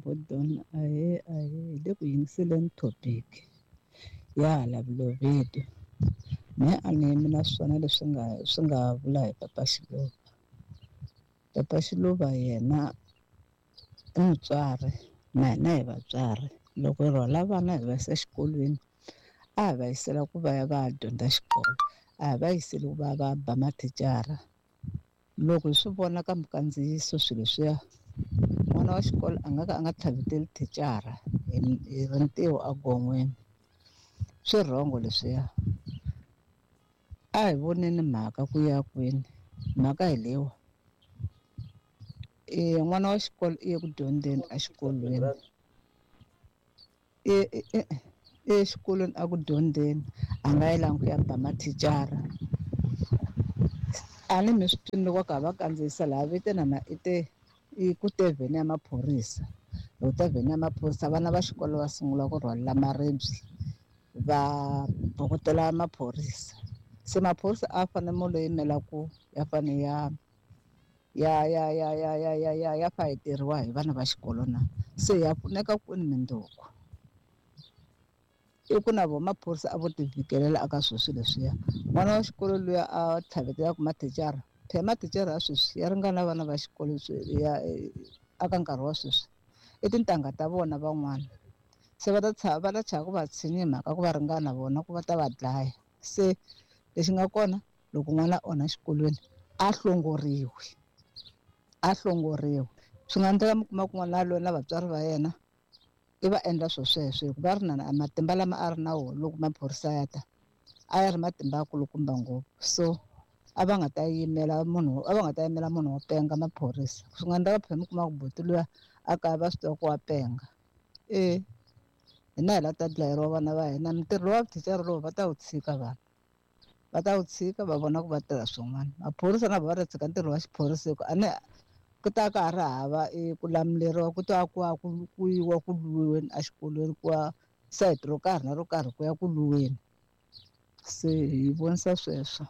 Bodon, ahee ahee, hi le ku yingiseleni topic ya hala Balobedu. Mehe a ni yimi na swona leswi nga swi nga vula hi Papa Xiluva. Papa Xiluva yena i mutswari na hina hi vatswari. Loko hi rhwala vana hi va yisa exikolweni a hi va yisela ku va ya va ya dyondza xikolo, a hi va yiseli ku va ya va ya ba mathicara. Loko hi swi vona ka minkandziyiso swilo leswiya, n'wana wa xikolo a nga ka a nga tlhaveteli thicara hi rintiho egon'weni. Swi wrong leswiya. A hi voneni mhaka ku ya kwini, mhaka hi leyiwa. N'wana wa xikolo i ye ku dyondzeni exikolweni. I exikolweni a ku dyondzeni a nga yelanga ku ya ba mathicara. A ni mi swi twini loko va karhi va kandziyisa laha vite na i te i ku te vhene ya maphorisa. Loko ta vhene ya maphorisa vana va xikolo va sungula ku rhwalela maribye va bukutela maphorisa. Se maphorisa a fanele mo lo yimela ku ya fane ya ya ya ya ya ya ya ya ya fayeteriwa hi vana va xikolo na se ya pfuneka kwini mindzuku i ku na vo maphorisa a vo ti vhikelela aka swilo swilo leswiya n'wana wa xikolo luya a tlhavetelaka mathicara phela mathicara ya sweswi ya ringana vana va xikolo ya aka nkarhi wa sweswi i tintangha ta vona van'wana se va ta tshava va ta chava ku va tshinya hi mhaka ku va ringana vona ku va ta va dlaya se lexi nga kona loko n'wana a onha xikolweni a hlongoriwi a hlongoriwi swi nga endleka mi kuma ku n'wana yaloye na vatswari va yena i va endla swo sweswo hikuva ri na matimba lama a ri na wona loko maphorisa ya ta a ya ri matimba ya kulukumba ngopfu so a va nga ta yimela munhu a va nga ta yimela munhu wo penga maphorisa swi nga endleka phela mi kuma ku buti luya a kaya va swi tiva ku wa penga e hina hi la ta dlayeriwa vana va hina mintirho lowa vuthicara lowu va ta wu tshika vanhu va ta wu tshika va vona ku va tirha swin'wana maphorisa na vona va ta tshika ntirho wa xiphorisa hi ku a ni ku ta ka ha ri hava ku lamuleriwa ku ta ku ya ku yiwa ku lwiweni exikolweni ku ya sayiti ro karhi na ro karhi ku ya ku lwiweni se hi vonisa sweswo.